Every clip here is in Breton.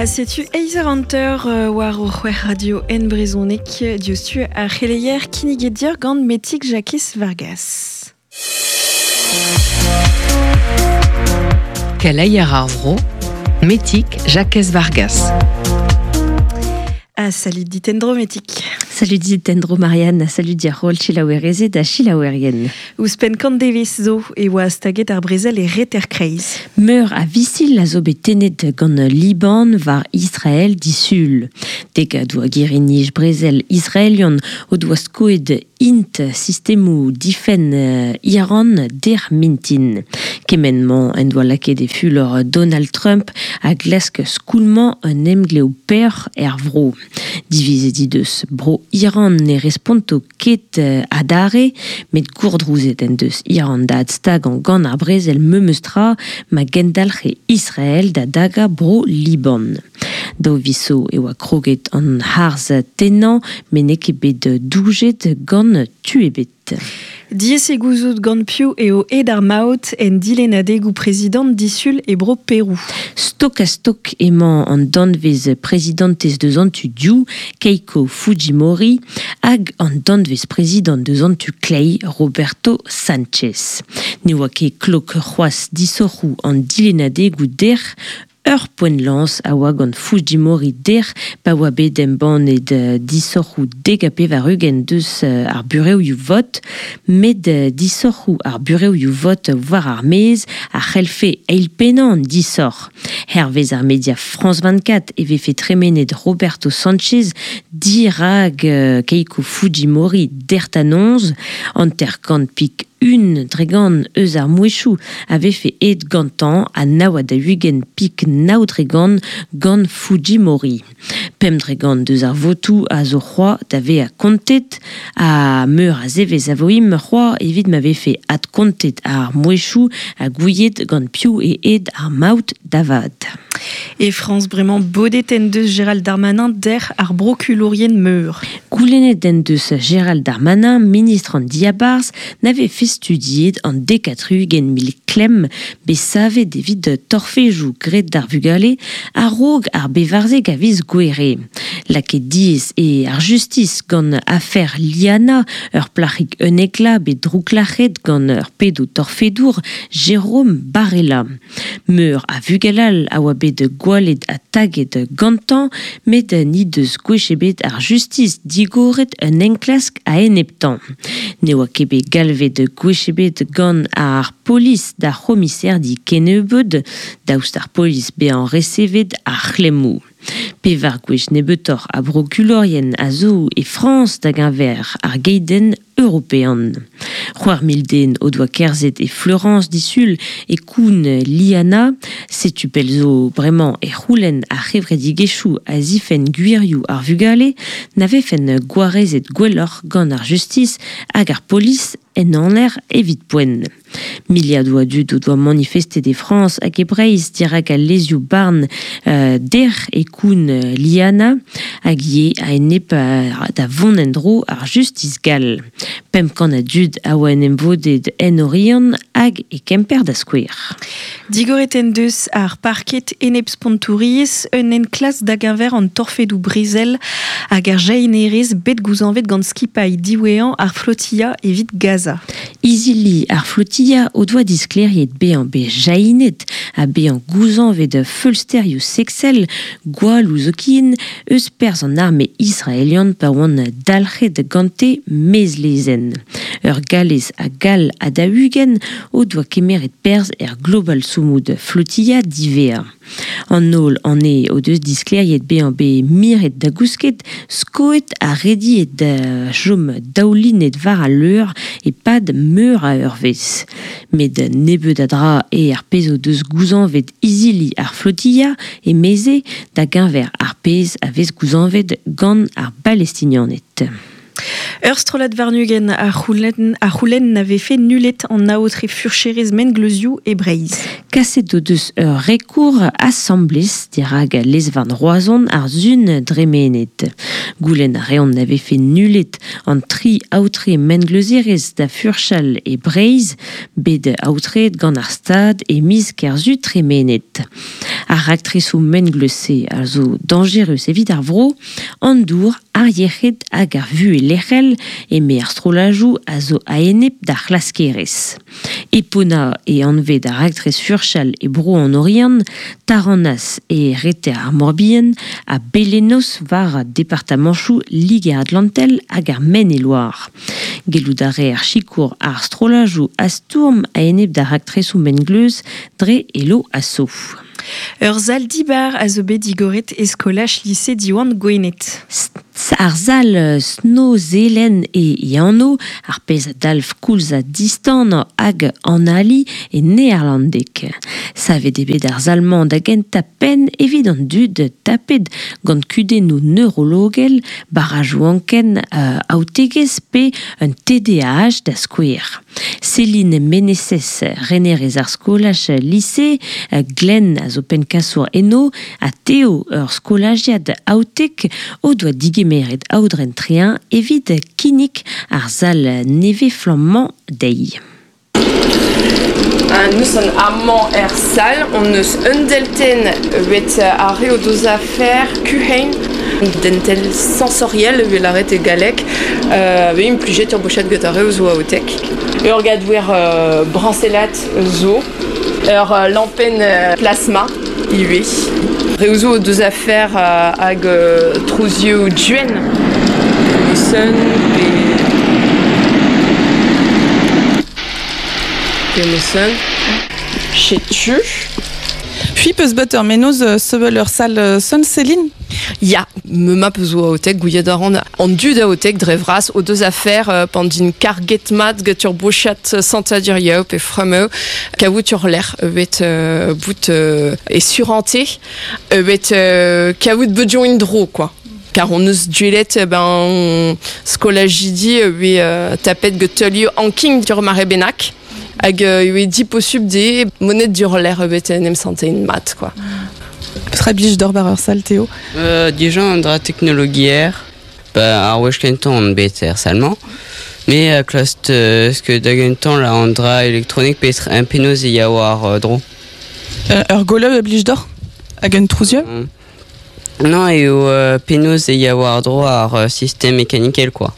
Ha setu eizh eur hanter war o c'hwec'h radio en brezhoneg diouzhtu ar c'heleier kinniget deoc'h gant Metig Jakez Vargas. Keleier ar vro, Metig Jakez Vargas. Ah, salut dit en-dro Metig. Salut dit en-dro Marianne, salut dir holl selaouerezed ha selaouerien. Ouzhpenn kant devezh zo e oa staget ar brezel e Reter-Kreiz. Meur a visil a zo bet tennet gant Liban war Israel disul. Degadoù a girri-nij brezel israelian o doa skoet int sistemoù difenn Iran dec'h mintin. Kement-mañ en doa lakaet e fulor Donald Trump a glask skoulmañ un emglev peoc'h er vro. Divizet he deus Bro Iran ne responto ket adarre, met gourdrouzet en deus Iran da adstagañ gant ar brezel memes tra ma gendalc'he Israel da dagañ Bro Liban. Daou viz zo e oa kroget an harz tennañ met n'eo ket bet doujet gant tu ebet. Diaes eo gouzout gant piv eo aet ar maout en dilennadegoù prezidant disul e bro Perou. Stok-ha-stok emañ an danvez prezidantez deus an tu div, Keiko Fujimori, hag an danvez prezidant deus an tu kleiz, Roberto Sanchez. Ne oa ket klok c'hoazh disoc'hoù an dilennadegoù dec'h, Ur poent-lañs a oa gant Fujimori dec'h pa oa bet embannet disoc'hoù 90 deus ar burevioù-vot, met disoc'hoù ar burevioù-vot war ar maez a c'hellfe eilpennañ an disoc'h. Hervez ar media France 24 e vefe tremenet Roberto Sanchez dirak Keiko Fujimori dec'h-da-noz, 50 pik 1% eus ar mouezhioù a vefe aet gantañ ha 49 pik 9% gant Fujimori. 5% deus ar votoù a zo c'hoazh da vezañ kontet ha meur a zevezh a vo imp c'hoazh evit ma vefe adkontet ar mouezhioù ha gouiet gant piv eo aet ar maout da vat. E Frañs bremañ bodet en deus Gérald Darmanin dec'h ar brokulourien meur. Goulennet en deus Gérald Darmanin, ministr an diabarzh, na vefe studiet an 70 mil klemm bet savet evit torfejoù graet d'ar vugale a-raok ar bevarzek a viz Gouere. Lakaet diaes eo ar justis gant afer Liana, ur plac'hig unnek bet drouklac'het gant ur pedo torfedour Jérôme Barella. Meur a vugel all a oa bet gwallet ha taget gantañ, met n'he deus gwech ebet ar justis digoret un enklask a-eneptañ. Ne oa ket bet galvet gwech ebet gant ar polis d'ar c'homiserdi kennebeut, daoust ar polis bezañ resevet ar c'hlemmoù. Pevar gwech nebeutoc'h a brokulourien a zo e Frañs da geñver ar geidenn european. C'hwec'h mil den o doa kerzhet e Florence disul e koun Liana. Setu pell zo bremañ e c'houlenn ar c'hevredigezhioù a zifenn gwirioù ar vugale na vefen gwarezet gwelloc'h gant ar justis hag ar polis en aner evit poent. Miliadoù a dud o doa manifestet e Frañs hag e Breizh dirak al lezioù-barn dec'h e koun Liana hag ivez a-enep da vont en-dro ar justis gall. 500 a dud a oa en em vodet en Oriant hag e Kemper da skouer. Digoret en deus ar parked enep-spontouriezh un enklask da geñver an torfedoù brezel hag ar jahinerezh bet gouzañvet gant skipailh diwezhañ ar flotilla evit Gaza. Izili ar flotilla o doa disklêriet bezañ bet jahinet ha bezañ gouzañvet feulsterioù seksel gwalloù zoken eus perzh an arme israelian pa oant dalc'het gante maez-lezenn. Ur Gallez ha Gall ha 40 o doa kemeret perzh er Global Sumud Flotilla diwezhañ. An holl anezhe o deus disklêriet bezañ bet miret da gousket, skoet ha rediet da chom daoulinet war al leur e-pad meur a eurvezh. Met nebeut a dra eo ar pezh o deus gouzañvet izili ar flotilla emeze da geñver ar pezh a vez gouzañvet gant ar Balestinianed. Ur strollad warn-ugent a c'houlenn na vefe nullet an aotre furcherezh mengleuzioù e Breizh. Kaset o deus ur rekour asambles dirak lez-varn Roazhon ar Sun dremenet. Goulenn a reont na vefe nullet an tri aotre mengleuzerezh da furchal e Breizh, bet aotreet gant ar Stad e miz Kerzu tremenet. Ar raktresoù mengleuz-se a zo dañjerus evit ar vro, an dour, ar yec'hed hag ar vuhez lec'hel, eme ar strollajoù a zo a-enep d'ar c'hlaskerezh. Epona e anvet ar raktres furchal e bro an Oriant, Taranas e reter ar Morbihan ha Belenos war departamanchoù Liger-Atlantel hag ar Maine-et-Loire. Gellout a reer sikour ar strollajoù a stourm a-enep d'ar raktresoù mengleuz dre Hello Asso. Ur sal dibar a zo bet digoret e skolaj lise Diwan Gwened. Ar sal Snoezelen e e anv, ar pezh a dalv koulz ha distan hag analiñ e neerlandeg. Savet eo bet ar sal-mañ da gentañ penn evit an dud tapet gant kudennoù neurologel, barrajoù anken, aotegezh pe un TDAH da skouer. Céline Meneses, renerez ar skolaj lise, Glenn a zo pennkasour eno, ha Théo, ur skolajiad aotek, o doa digemeret Aodren Trehin evit kinnig ar sal nevez-flamm-mañ dezhi. Nous an amañ er sal, on eus un deltenn evet ar re o deus afer kuhein, dentel sensoriel evel lâret e galleg, vez implijet ur bochad get ar re zo aotek. Ur gadouer brañsellat zo, ur lampenn plasma ivez. Re zo o deus afer hag trouzioù duenn, sun pe pe Setu. Puis peus bet ur mennozh sevel ur sal Sun Céline? Ya, me ma peus zo aotek, gouiet a ran an dud aotek dre vras o deus afer pan din karget mat get ur bochad santadurioù pe frameu kavout ur lec'h evet bout e surante evet kavout beudioñ in-dro quoi. Car on eus duelet ben skolajidi e tapet get teulioù anking ur mare bennak hag e diposubl de monet dur lec'h evet en em santein mat quoi. Petra blij d'ober ur sal Théo? Dija an dra teknologier, ba ar wech kentañ on bet er sal-mañ. Me a klask ce da gentañ la an dra elektronik pe un penaos e ya war dro. Ur goleu a blij deoc'h? Hag un trouzieu? Non, eo penaos e ya war dro ar système mekanikel quoi.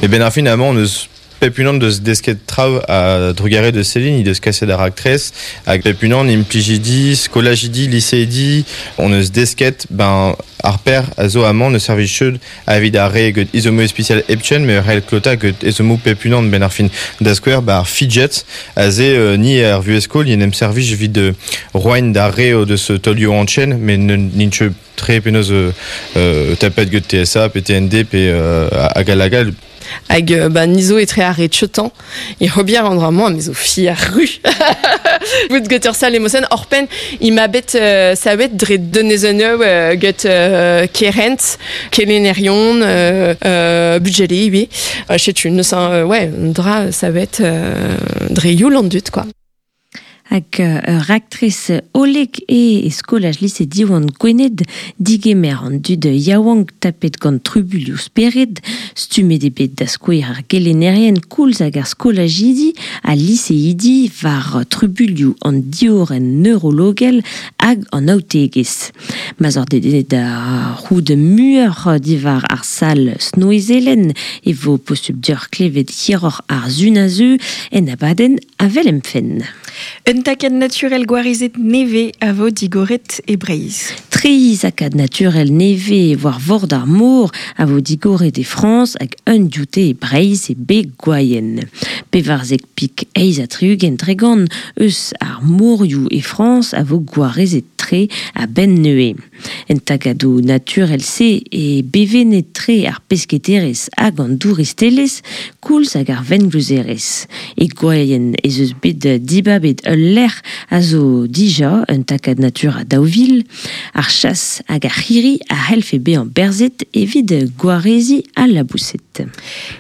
E ben ar fin amañ on eus pep unan deus desket traoù a drugarez de Céline, he deus kaset ar raktres, hag pep unan implijidi, skolajidi, liseidi, on eus desket ben ar per a zo amañ ne servij cheud evit ar re get izomoù ispisial hepken, met c'hell klotañ get ezhommoù pep unan ben ar fin. Da skouer, ba ar fidget, aze ni er vuhez-skol, en em servij evit roain d'ar re o deus taolioù anchen, met n'int ket tre penaos tapet get TSA, pe TND, pe hag all hag all. Hag ba nizo etre ar re tcheutañ e c'hobier an dra-mañ me zo fier ru. Bout get ur sal emosen orpen i ma bet savet dre donezonioù get kerent, kelenerion, budgele ivez. Setu neus ouais, un dra savet dre youl an dud quoi. Hag ur raktres hollek eo e skolaj lise Diwan Gwened digemer an dud yaouank tapet gant trubuilhoù spered, stummet eo bet da skouer ar gelennerien koulz hag ar skolajidi ha liseidi war trubuilhoù an diorren neurologel hag an aotegezh. Ma 'z oc'h dedennet da c'hoût muioc'h diwar ar sal Snoezelen e vo posupl deoc'h klevet hiroc'h ar sun a-zeu en abadenn Avel em fenn. Un takad naturel gwarezet nevez a vo digoret e Breizh. Tri zakad naturel nevez war vord ar mor a vo digoret e Frañs hag un dioute e Breizh e beg Gwaien. Pevarzek pik eizh ha tri-ugent tregont eus ar morioù e Frañs a vo gwarezet tre. tre a ben neue. En tagadou naturel se e bevenet tre ar pesketerez hag an douristelez, koulz hag ar vengleuzerez. E gwaien ez eus bet dibabet ul lec'h a zo dija un takad natur a daouvil, ar chas hag ar c'hiri a c'hellfe bezañ berzet evit gwarezi al labouset.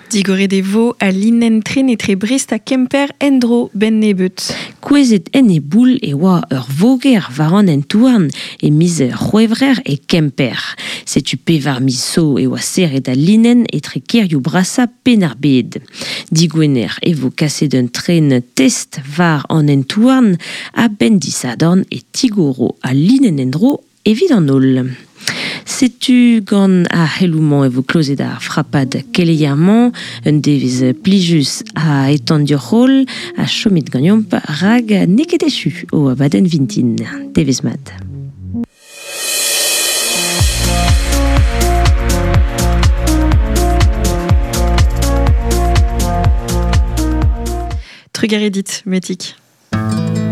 Digoret e vo a linen tren etre Brest ha Kemper endro ben nebeut. Kouezet en e boul e oa ur voger war an hent-houarn e miz C'hwevrer e Kemper. Setu pevar miz zo e oa serret al linenn etre kêrioù brasañ Penn-ar-Bed. Digwener e vo kaset un tren test war an hent-houarn a-benn disadorn e tigoro al linenn en-dro evit an holl. Setu gant ar c'heloù-mañ e vo klozet ar frapad keleier-mañ, un devezh plijus a etan dioc'h holl ha chomit ganeomp rak n'eo ket echu o abadenn vintin. Devezh mat. Trugarez dit, Metik.